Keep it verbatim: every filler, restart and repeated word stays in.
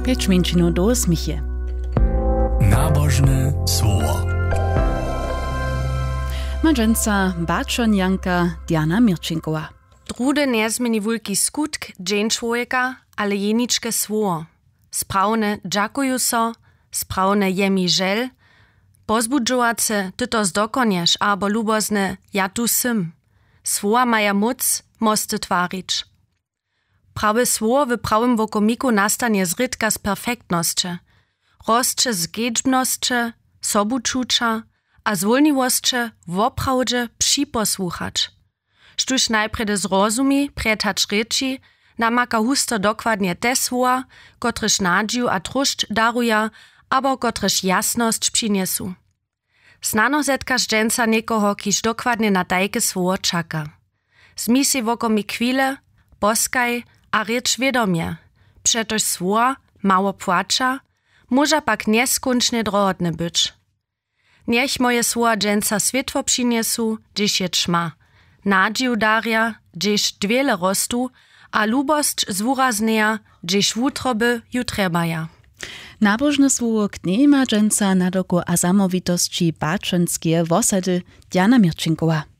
Pjeć mjeńšinow do směch je. Nabožne słowo. Ma dźensa baćonjanka Diana Měrčinkowa. Druhdy njezměni wulki skutk dźeń čłowjeka, ale jeničke słowo. Sprawne dźakuju so, sprawne je mi žel, pozbudźowace ty to zdokonješ abo lubozne ja tu sym. Słowa maja móc mosty twarić. Prawe słowo w prawym wokomiku nastanje zrědka z perfektnosće, rosće z kedźbnosće, sobučuća a zwólniwosće woprawdźe připosłuchać. Štóž najprjedy zrozumi prjed hač rěči, namaka husto dokładnje te słowa, kotrež nadźiw a tróšć daruja abo kotrež jasnosć přinjesu. Snano zetkaš dźensa někoho, kiž dokładnje na tajke słowo čaka. Zmi sej wokomik chwile, poskaj a rěč wědomje, přetož słowa mało płaća, móža pak njeskónčnje drohotne być. Njech moje słowa dźensa swětło přinjesu, hdźež je ćma, nadźiw darja, hdźež dwěle rostu, a lubosć zwuraznjeja, hdźež wutroby ju trjebaja. Nabožne słowo knjejma dźensa nadoku a zamołwitosći baćonskeje wosady Diana Měrčinkowa.